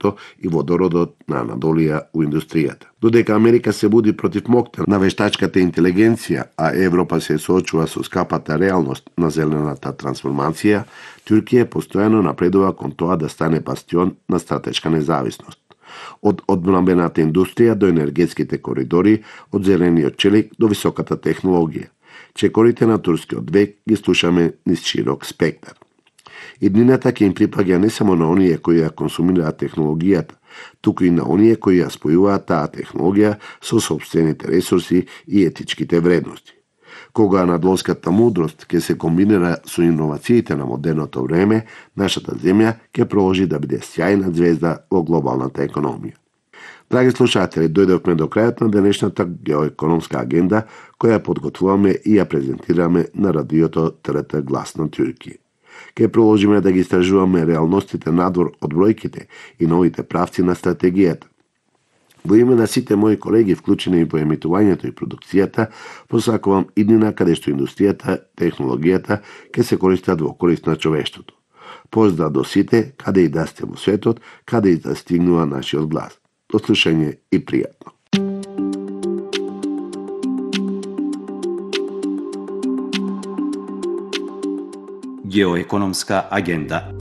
дрвето и водородот на Анадолија у индустријата. Додека Америка се буди против моќта на вештачката интелигенција, а Европа се соочува со скапата реалност на зелената трансформација, Туркија постојано напредува кон тоа да стане бастион на стратешка независност. Од одбранбената индустрија до енергетските коридори, од зелениот челик до високата технологија. Чекорите на турскиот век ги слушаме низ широк спектар. Иднината ќе им припаѓа не само на оние кои ја консумираат технологијата, туку и на оние кои ја спојуваат таа технологија со сопствените ресурси и етичките вредности. Кога анадолската мудрост ќе се комбинира со иновациите на модерното време, нашата земја ќе продолжи да биде сјајна звезда во глобалната економија. Драги слушатели, дојдовме до крајот на денешната геоекономска агенда, која подготвуваме и ја презентираме на радиото ТРТ Глас на Туркија. Ке продолжиме да ги истражуваме реалностите надвор од бројките и новите правци на стратегијата. Во име на сите мои колеги вклучени во емитувањето и продукцијата, посакувам иднина каде што индустријата, технологијата ќе се користат во корист на човештвото. Поздрав до сите, каде и да сте во светот, каде и да стигнува нашиот глас. До слушање и пријатно. Геоекономска агенда.